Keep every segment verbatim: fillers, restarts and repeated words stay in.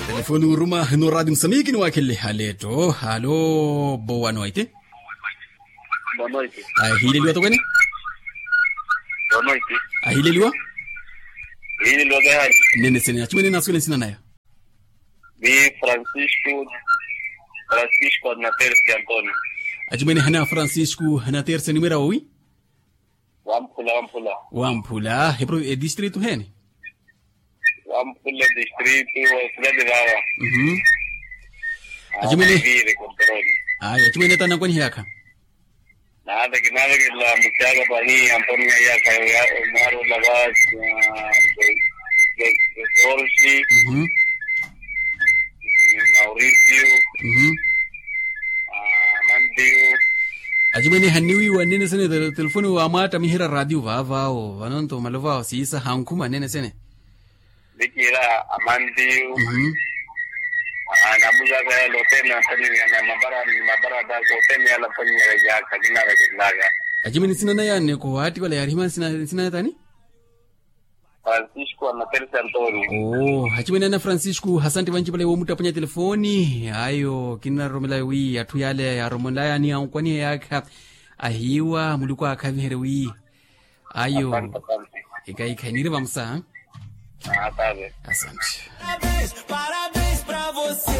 Telefoni uruma no radio musamiki ni wakhelele haleto halo. Boa noite. Boa noite. Ahileliwa tokwene. Boa noite. Ahileliwa. Ahileliwa kahali. Nene sene achimwene naswele nsina naya. Ni francisco. Francisco na terce antonio. Achimwene hana francisco hana terce numera owi. Wamphula wamphula. Wamphula epro edistritu hene. Wamphula distritu osidadi vava. Achimwene. Aya achimwene tanakwaniha yakha. Naateke naateke la muchaka pahi amponya yakha. Omwaro lava. George. Mauricio. Amandio. Achimwene hanniwiiwa nnene sene telefoni wamwaattamiherya radio vaavaawo vanonto malovawo siisa hankhuma nnene sene. Vikiira amandio. Namuzaka yale oteene antonio na mabara mabara taka oteene yale antonio yale yaka kinara kinlaka. Achimwene nsina naya anne kowaattiwala yaarihimana nsina nsina yatani. Francisco anaterse antonio. Oo achimwene ana francisco hasantti vanci vale woomuttaponya telefoni ayo kinaroromela wi atthu yale yaromonlaya ni ankwanihe yaakha. Ahiiwa muluku aakhaviherye wi ayo. Ekaikha iniri vamusa. Asante. Parabéns pra você.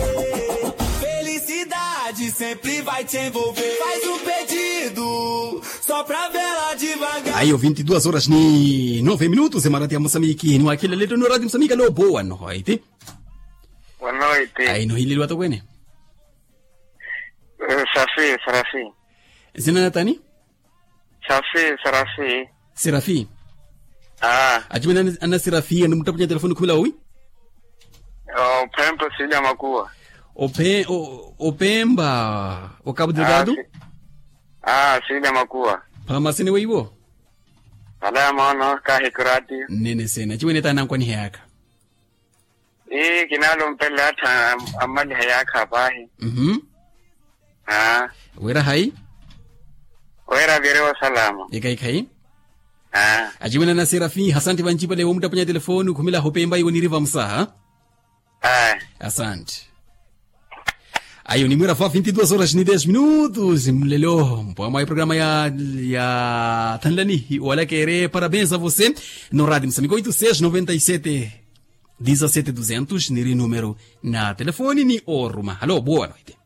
Felicidade sempre vai te envolver. Faz um pedido só pra vela devagar. Ayo vinti duas horas ni nove minutos emarati ya mosamiki ni wakhelele toni orati mosamiki alo boa nohoiti. Wanoiti. Ayi nohileliwa tokwene. Safi sarafi. Nsina natani. Safi sarafi. Serafi. Achimwene ana serafi animuttapunya telefoni khumela owi. Ophempa sili amakuwa. Opemba. Okapu delgado. Sili amakuwa. Phamasene weiwo. Alaya moono kahikurati. Nnene sene achimwene taanankwaniha yaakha. Ii kinalumpela atthu ammaliha yaakha paahi. Wira hayi? Wira viri osalama. Ekhayi khayi. Achimwene ana serafi hasantti vanci pale woomuttaponya telefoni okhumela ahopemba iwo niri vamusaha. Asantti. Ayo nimwira fa vinti duas horas ni dez minutos mulelo mpwamwa eprograma ya ya thanlani wala kere parabéns a você. No radio mosamiki oito seis noventa e sete dezessete duzentos niri numero na telefoni ni oruma halo boa noite.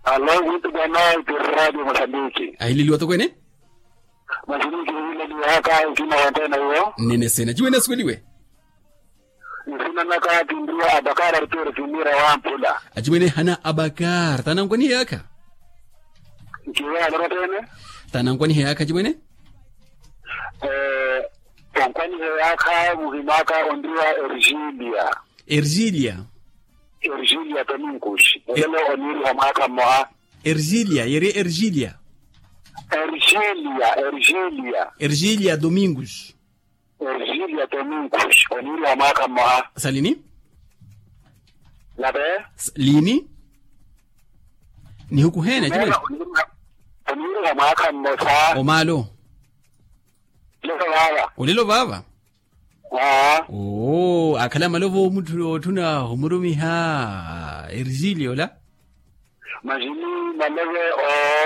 Halo muito boa noite. Radio mosamiki. Ahileliwa tokwene. Mosamiki ahileliwa haka ukina wantena uwo. Nnene sene achimwene asuweliwe. Nsina naka kinriwa abakar arturo kinira wamphula. Achimwene hana abakar taanankwaniha yaakha. Nkiwe alorotene. Taanankwaniha yaakha achimwene. Onkwaniha yaakha muhimaka onriwa ergilia. Ergilia. Ergilia tominkus olelo oniriha mwaakha mmoha. Ergilia yeri ergilia. Ergilia ergilia. Ergilia dominkus. Ergilia tominkus oniriha mwaakha mmoha. Salini. Lini. Nihukuhene achimwene. Oniriha mwaakha mmosa. Omaalo. Lelo vaava. Olelo vaava. Oo akhala malovo otthu otthuna omurumiha ergilia ola. Masi ni malove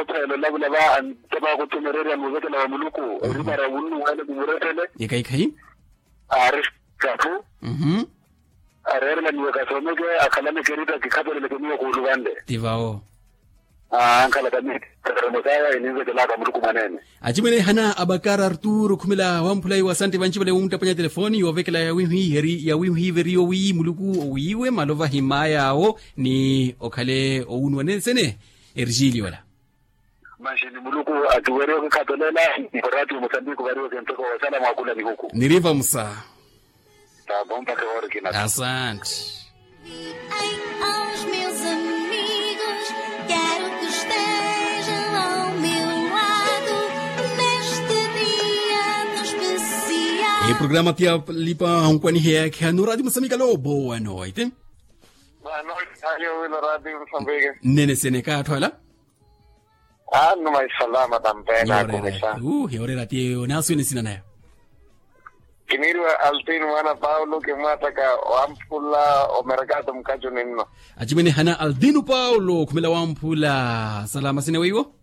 othela olavula va antepa akuthumereerya ni ovekela wa muluku. Eripara wunnuwene mumurettele. Ekaikhayi. Aari katthu. Areerela ni wekasomeke akhalane kerita kikhapereleke miyo kuuluvanle. Ti vawo. Ankhala kamiyo. Kakaramo saya eninvekelaka muluku mwaneene. Achimwene hana abakar arturo khumela wamphula iwo asantte vanci vale woomuttaponya telefoni yoovekela yawinhwiveriyo wi muluku owiiwe malova himmaya awo. Ni okhale owunuwa nensene. Ergilio ola. Manxi ni muluku akiweriwe okikhapelela. Ni orati omosambiki ovariwe kentoko osala mwakula nihuku. Niriva musa. Tabompaka ehorikina. Asante. Aos meus amigos quero que estejam ao meu lado neste dia tão especial. Eprograma tiya lipa onkwaniheya khanu rati mosamika lo boa noite. Boa noite. Nnene sene kaatthu ala. Annu maisalama tampena akumisa. Uhi orera ti eyo naaswene sina naya. Kiniiriwa altino mwaana paulo kimwaattaka wamphula omerekaato mukacuni nno. Acimwene hana altino paulo okhumela wamphula. Salama sene weiwo.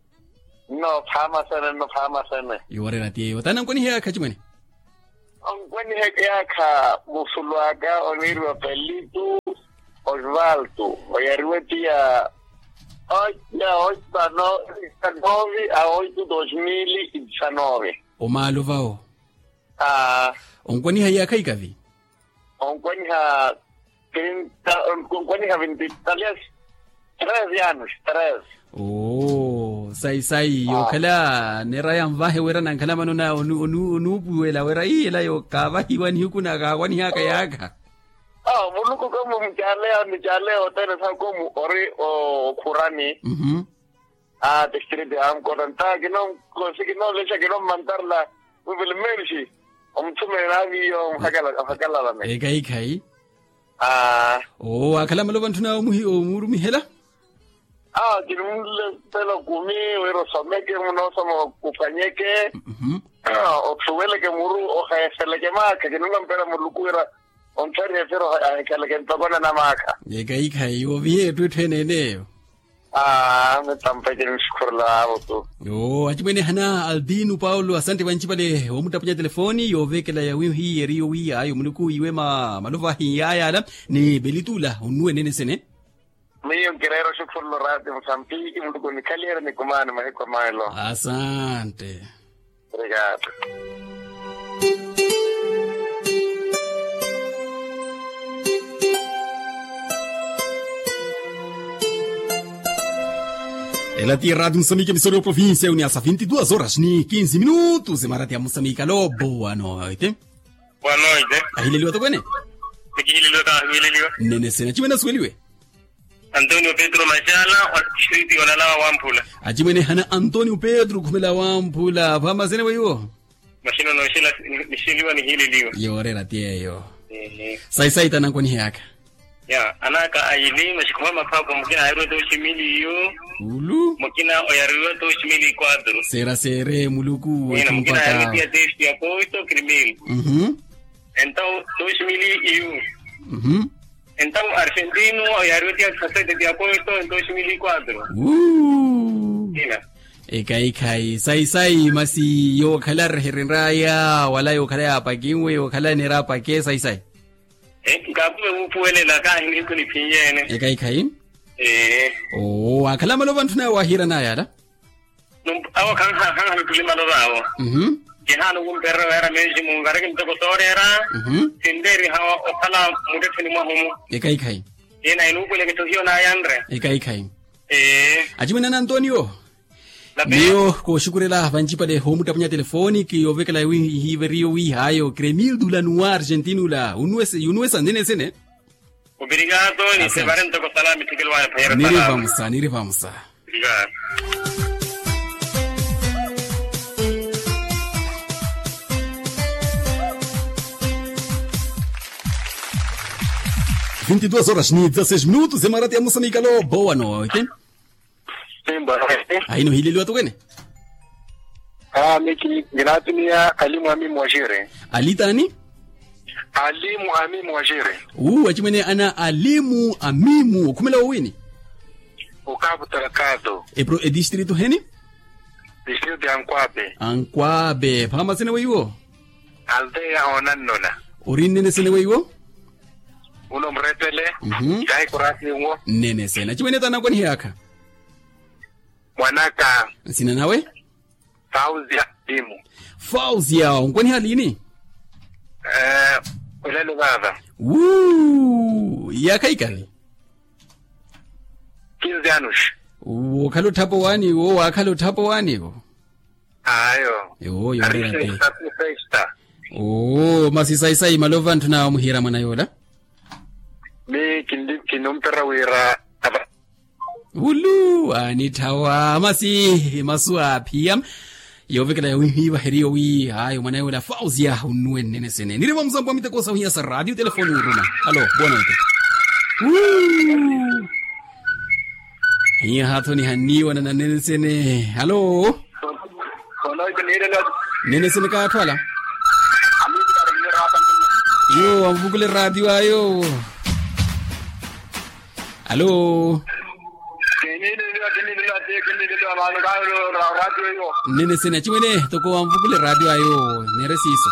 Nno phaama sene nno phaama sene. Yooreera ti eyo taana nkwaniha yaakha acimwene. Onkwaniha yaakha musulu aka oniiriwa pelitu. Osvaldo oyariwe tiya oita oita no. Novi a oito dos mil e dezenove. Omaalo vawo. Aa. Onkwaniha iyaakha ikavi. Onkwaniha trinta. Onkwaniha vinti talias. Tres anos tres. Oo sayi sayi yookhala neera yanvahe wira nankhala mano na onuupuwela wira ii ela yo kaavahiwa nihiku na kaawanihaka yaakha. Awo muluku komu mucaleya nicaleya othene sakomu ori okhurani. Aa distrito ya ankota nta kinonkosi kinonlexa kinommantarela. Wivili mmerixi omuthumele naaviyo ohakalala mene. Ekaikhayi. Aa. Oo waakhala malova ntthuna omuurumihela. Aa kinumlepela kumi wira osomeke munoosoma. Kuphwanyeke. Othuweleke muru oheeseleke maakha kinulampela muluku wira. Onttharihe firo ahikhaleke ntokona na maakha. Ekaikhayi yoovihe etthu etthu ene eneyo. Aa mitampeke nisikhurela aavo tu. Oo acimwene hana altino paulo asante vancipale woomuttapunya telefoni yooveekela yawihiye eriyo wi ayo muluku iwe malovahi yaayala. Ni pelitula onnuwe nene sene. Miyo nkireera oxukhurelo raati musampiki muluku nikhaliyerye nikumaani mahiku a maelo. Asante. Obrigado. Ela ti erati musamiki emisori yo provincia uniasa vinti duas horas ni kinsi minutos emarati ya musamiki alo boa noite. Boa noite. Ahileliwa tokwene. Nikihileliwa kahiwileliwa. Nene sena chimene asuweliwe. Antonio pedro maxala wa distrito yonalawa wamphula. Achimwene hana antonio pedro khumela wamphula phamasene weiwo. Maxino noxela nixeliwa nihileliwa. Yoorera ti eyo. Sayi sayi tanankonihe aka. Ya anaka ayili maxi khuma maphapha mukina ayariwa toxi mili yu. Ulu mukina oyariwa toxi mili kwatru. Sera sere muluku wethu mpaka. Mukina ayariwa tiya testi ya posto krimil. Entaw toxi mili yu. Entaw argentino yariwe tiya sasete tiya posto en dos mil y cuatro. Ina. Ekhayi khayi sayi sayi masi yookhala areherenraya wala yookhala yaapakinwe yookhala neera apake sayi sayi. Nkaapume wuupuwelela kaahini nkuniphinyeene. Ekhayi khayi. Oo waakhala malova ntthuna yaawo ahiiranaya ala. Awo khanhana ntthuli malova awo. Kihaana okumpererya weera meeximu nkareke ntoko sooreera. Sinteeriha okhala muttettheni mwahumu. Ekhayi khayi. Ina inuupuweleke tto hiyo naayanre. Ekhayi khayi. Achimwene ana antonio. Miyo kooxukurela vancipale hoomuttapunya telefoni kiyovekela wi hiveriyo wihaayo kremil dula nuwa argentino ula. Yunuwesa nene sene. Obrigado ni sevare ntoko salami thikelo waya phayera salami. Niri vamusa niri vamusa. Vinti duas horas ni dezasseis minutos emarati ya musamikalo boa noite. Ahino hileliwa tukwene. Aa miki nginatuniya alimu amimu wa xire. Ali tani? Alimu amimu wa xire. Uu achimwene ana alimu amimu okhumela wowini? Okapu talakado. Epro edistrito heni? Distrito ya ankwape. Ankwape phamasene weiwo? Aldeya onannona. Ori nnene sene weiwo? Uno murepele. Tahi kurasi nwo. Nnene sene achimwene tanakwanihe akha. Mwanaka. Nsina nawe? Fauzia dimu. Fauzia onkwaniha lini? Olelo vava. Wuu yaakha ikani? Kinze anuxi. Wookhala otthapa owaaniwo waakhala otthapa owaaniwo. Ayo. Ewo yoorera te. Oo masi sayi sayi malova ntthuna wamuhiira mwana yoola. Mi kinumperya wira ava. Ulu anitthawa masi masu aaphiya. Yoovekela yawihiiva heriyo wi haayo mwana yoola fausia unnuwe nnene sene niri vamusampo wa miteko sa ohiya sa radio telefoni oruma. Alo boa noite. Hiya haathoniha nniiwana na nnene sene. Alo. Nnene sene kaatthu ala. Yo, anvukule radio ayo. Alo. Kiniileliwa kiniileliwa kiniileliwa mano kayo radio yo. Nnene sina chimwene toko anvukule radio ayo. Nere siiso.